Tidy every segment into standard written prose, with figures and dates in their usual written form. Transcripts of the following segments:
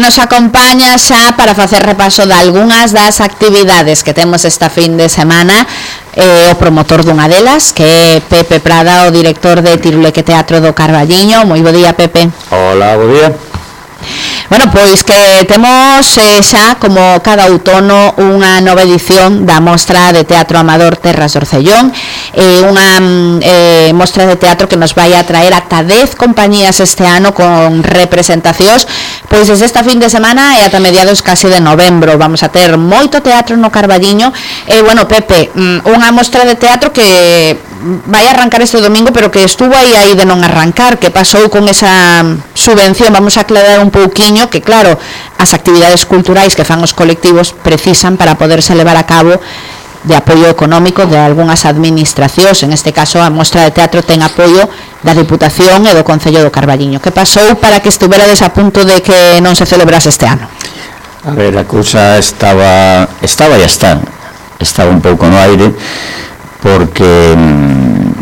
nos acompaña xa para facer repaso de algunhas das actividades que temos esta fin de semana, o promotor dunha delas, que é Pepe Prada, o director de Tiruleque Teatro do Carballiño. Moi bo día, Pepe. Hola, bo día. Bueno, pois que temos xa, como cada outono, unha nova edición da Mostra de Teatro Amador Terras do Orcellón, unha mostra de teatro que nos vai a traer ata 10 compañías este ano con representacións, pois desde esta fin de semana e ata mediados casi de novembro. Vamos a ter moito teatro no Carballiño. Bueno, Pepe, unha mostra de teatro que vai arrancar este domingo, pero que estuvo aí de non arrancar. Que pasou con esa subvención? Vamos a aclarar un pouquiño que, claro, as actividades culturais que fan os colectivos precisan para poderse levar a cabo de apoio económico de algunhas administracións. En este caso, a Mostra de Teatro ten apoio da Diputación e do Concello do Carballiño. Que pasou para que estuverades a punto de que non se celebrase este ano? A ver, a cousa estaba e estaba un pouco no aire, porque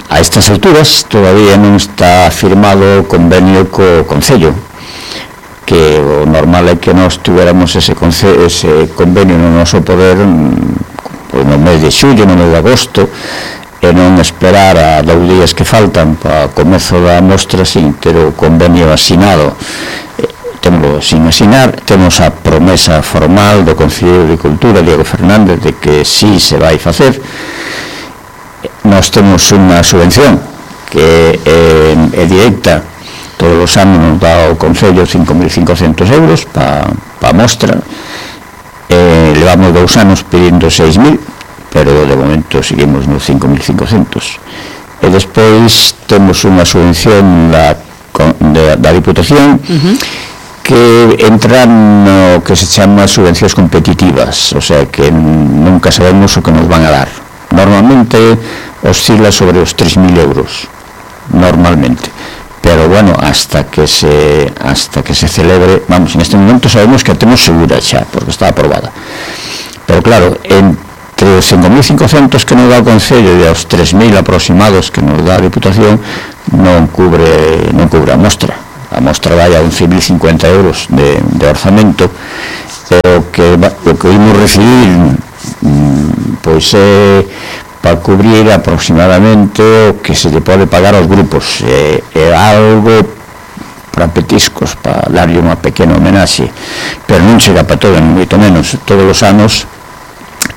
a estas alturas todavía non está firmado o convenio co Concello, que o normal é que nós tuéramos ese convenio no noso poder no mes de xullo, no mes de agosto, e non esperar a 2 días que faltan para o comezo da mostra sin ter o convenio asinado. Temos sin asinar, temos a promesa formal do Concello de Cultura, Diego Fernández, de que sí se vai facer. Nós temos unha subvención que é directa, todos os anos nos dá o Concello 5.500 euros para a mostra. Levamos 2 anos pedindo 6.000, pero de momento seguimos nos 5.500. E despois temos unha subvención da Diputación, que entra no que se chama subvencións competitivas, o sea que nunca sabemos o que nos van a dar. Normalmente oscila sobre os 3.000 euros, normalmente. Pero bueno, hasta que se celebre, vamos, en este momento sabemos que a temos segura xa, porque está aprobada. Pero claro, entre os 5.500 que nos dá o Concello e os 3.000 aproximados que nos dá a Diputación, non cubre a mostra. A mostra vai a 11.050 euros de orzamento, e o que imos recibir pois é para cubrir aproximadamente o que se lle pode pagar aos grupos. É algo para petiscos, para darlle unha pequena homenaxe, pero non chega para todo, moito menos. Todos os anos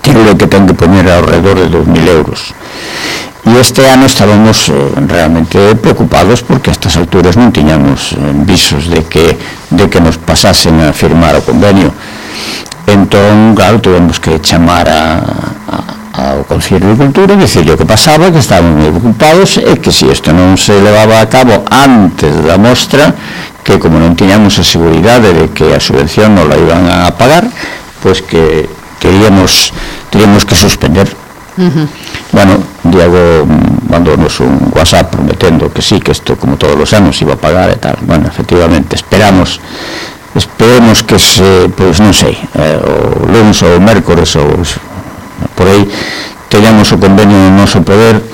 tiro que ten que poñer alrededor de 2.000 euros. E este ano estábamos realmente preocupados porque a estas alturas non tiñamos visos de que nos pasasen a firmar o convenio. Entón, claro, tuvemos que chamar ao Concello de Cultura e dicirle o que pasaba, que estaban moi preocupados e que se isto non se levaba a cabo antes da mostra, que como non tiñamos a seguridade de que a subvención non la iban a pagar, pois que teríamos que suspender. Bueno, Diego mandounos un WhatsApp prometendo que sí, que isto como todos os anos iba a pagar e tal. Bueno, efectivamente, esperemos que pois non sei, o lunes ou o mércores ou por aí teñamos o convenio no noso poder,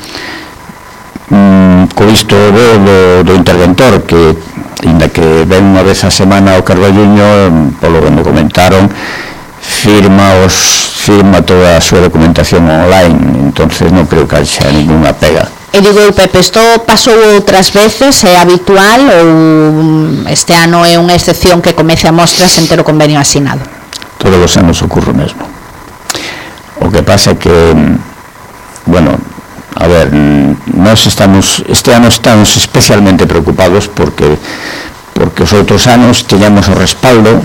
co isto do interventor, que ainda que ven unha vez a semana ao Carballiño, polo que me comentaron, firma toda a súa documentación online, entonces non creo que haxa ninguna pega. E digo, Pepe, isto pasou outras veces, é habitual ou este ano é unha excepción que comece a mostra sen ter o convenio asinado? Todos os anos ocurre o mesmo. O que pasa é que, bueno, a ver, este ano estamos especialmente preocupados porque os outros anos tiñamos o respaldo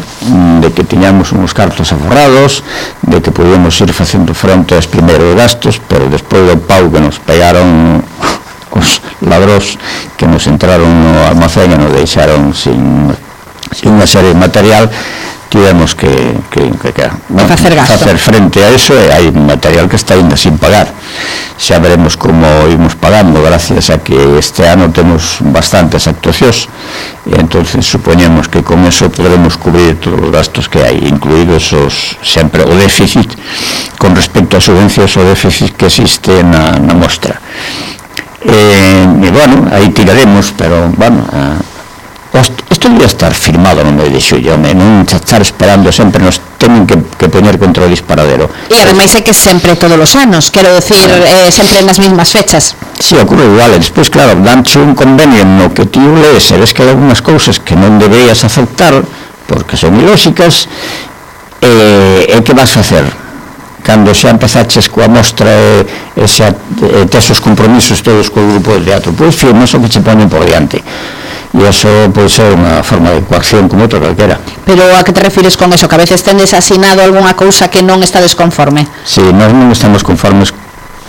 de que tiñamos uns cartos aforrados, de que podíamos ir facendo fronte aos primeiros gastos, pero despois do pau que nos pegaron os ladrós que nos entraron no almacén e nos deixaron sin unha serie de material, tivemos que facer frente a eso, e hai material que está ainda sin pagar. Xa veremos como imos pagando, gracias a que este ano temos bastantes actuacións, e entonces supoñemos que con eso podremos cubrir todos os gastos que hai, incluídos sempre o déficit con respecto a subvencións, o déficit que existe na mostra. E bueno, aí tiraremos, pero bueno, Isto debía estar firmado no mes de xullo, non estar esperando sempre, nos temen que poñer contra o disparadero. E ademais é que sempre todos os anos, quero decir, sempre nas mismas fechas. Si, ocurre igual, e despois, claro, danche un convenio no que ti lees e ves que hai algunhas cousas que non deberías aceptar porque son ilóxicas, e que vas facer? Cando xa empezaches coa mostra e xa tes os compromisos todos co grupo de teatro, pois firmas o que che ponen por diante. E iso pode ser unha forma de coacción como outra calquera. Pero a que te refires con eso? Que a veces tendes asinado algunha cousa que non estades conforme? Si, nós non estamos conformes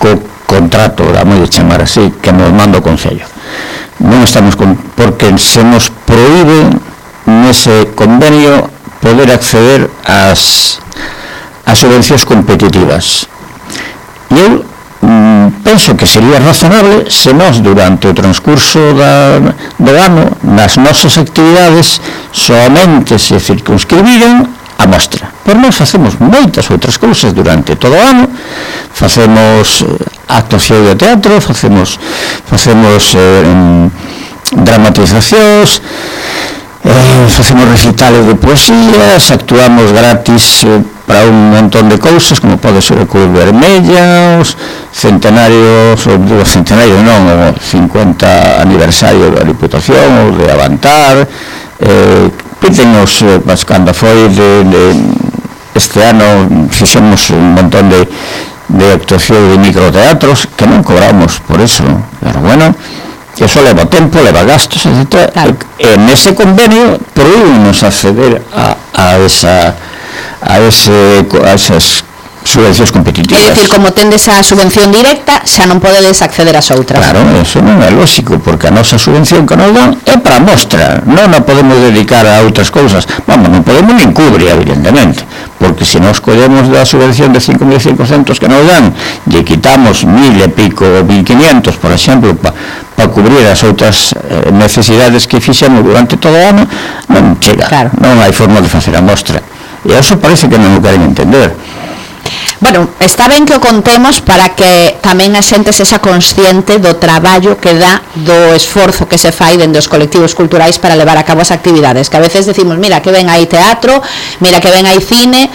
co contrato, vamos a chamar así, que nos manda o Concello. Non estamos porque se nos proíbe nese convenio poder acceder ás subvencións competitivas. E eu penso que sería razonable se nós durante o transcurso do ano nas nosas actividades somente se circunscribiran a mostra. Por nós facemos moitas outras cousas durante todo o ano, facemos actuación de teatro, facemos dramatizacións, facemos recitales de poesías, actuamos gratis para un montón de cousas, como pode ser o Cruz Vermella, os centenarios, o centenario non, o 50 aniversario da Diputación, o de Avantar, pídenos, cando foi este ano, fixemos un montón de actuación de microteatros, que non cobramos por eso, pero bueno, eso leva tempo, leva gastos, etc. Claro. E nese convenio prohibimos acceder a esas subvencións competitivas. É dicir, como tendes a subvención directa, xa non podedes acceder ás outras. Claro, eso non é lógico, porque a nosa subvención que nos dan é para a mostra, non a podemos dedicar a outras cousas. Vamos, non podemos nin cubrir, evidentemente, porque se nos collemos da subvención de 5.500 que nos dan, lle quitamos 1.000 e pico, 1.500, por exemplo, para cubrir as outras necesidades que fixemos durante todo o ano, non chega, claro. Non hai forma de facer a mostra. E eso parece que non o queren entender. Bueno, está ben que o contemos para que tamén a xente sexa consciente do traballo que dá, do esforzo que se fai dende os colectivos culturais para levar a cabo as actividades, que a veces decimos, mira que ven aí teatro, mira que ven aí cine,